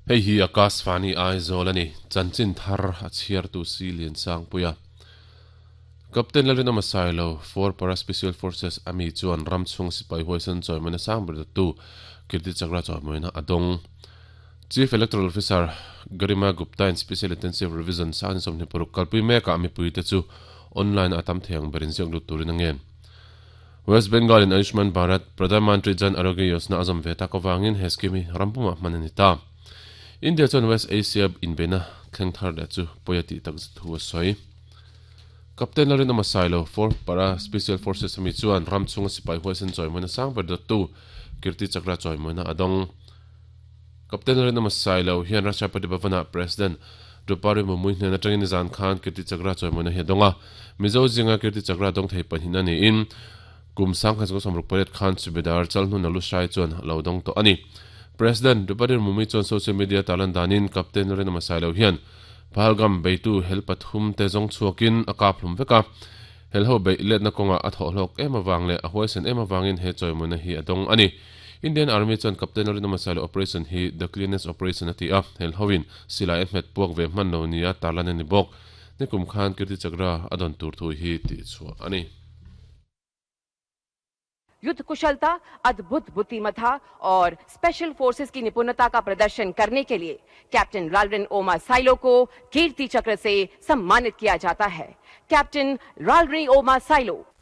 Hei hi Akashvani Aizawl a ni, chanchin thar a chhiartu si Liansangpuia. Captain Lalrinawma Sailo, For Para Special Forces a mi chuan ram chhung sipai huaisen chawimawina sang ber dawttu Kirti Chakra chawimawina a dawng. Chief Electoral Officer Garima Gupta in Special Intensive Revision sang ni 26 kalpui mekah mipuite chu online a tam thei ang ber inziak lut turin a ngen. West Bengal in Ayushman Bharat, Pradhan Mantri Jan Arogya Yojana a zawm ve tak avangin he scheme hi ram pumah hman a ni ta. India chuan West Asia inbeihna thleng thar leh chu pawi a tih tak zet thu a sawi. Captain Lalrinawma Sailo, Fourth Para Special Forces ami chuan ram chhunga sipai huaisen chawimawina sang ber dawttu Kirti Chakra chawimawina a dawng. Captain Lalrinawma Sailo hian Rashtrapati Bhavan-ah President Draupadi Murmu hnen atangin nizan khan Kirti Chakra chawimawina hi a dawng a. Mizo zinga Kirti Chakra dawng thei pahnih a niin kum 1968 khan Subedar Chalhnuna Lushai chuan a lo dawng tawh a ni. President Draupadi Murmu chuan social media tarlan danin Captain Lalrinawma Sailo hian Pahalgam beitu hel pathum te zawng chhuakin a kap hlum vek a, hel ho beih letna kawngah a thawh hlawk em avang leh a huaisen em avangin he chawimawina hi a dawng a ni. Indian Army chuan Captain Lalrinawma Sailo operation hi The Cleanest Operation a ti a, hel hoin silai a hmet puak ve hman lo nia tarlan a ni bawk. Nikum khan Kirti Chakra a dawn tur thu hi tihchhuah a ni. युद्ध कुशलता अद्भुत बुद्धिमत्ता और special forces की निपुणता का प्रदर्शन करने के लिए कैप्टन लालरिन ओमा साइलो को कीर्ति चक्र से सम्मानित किया जाता है। कैप्टन लालरिन ओमा साइलो।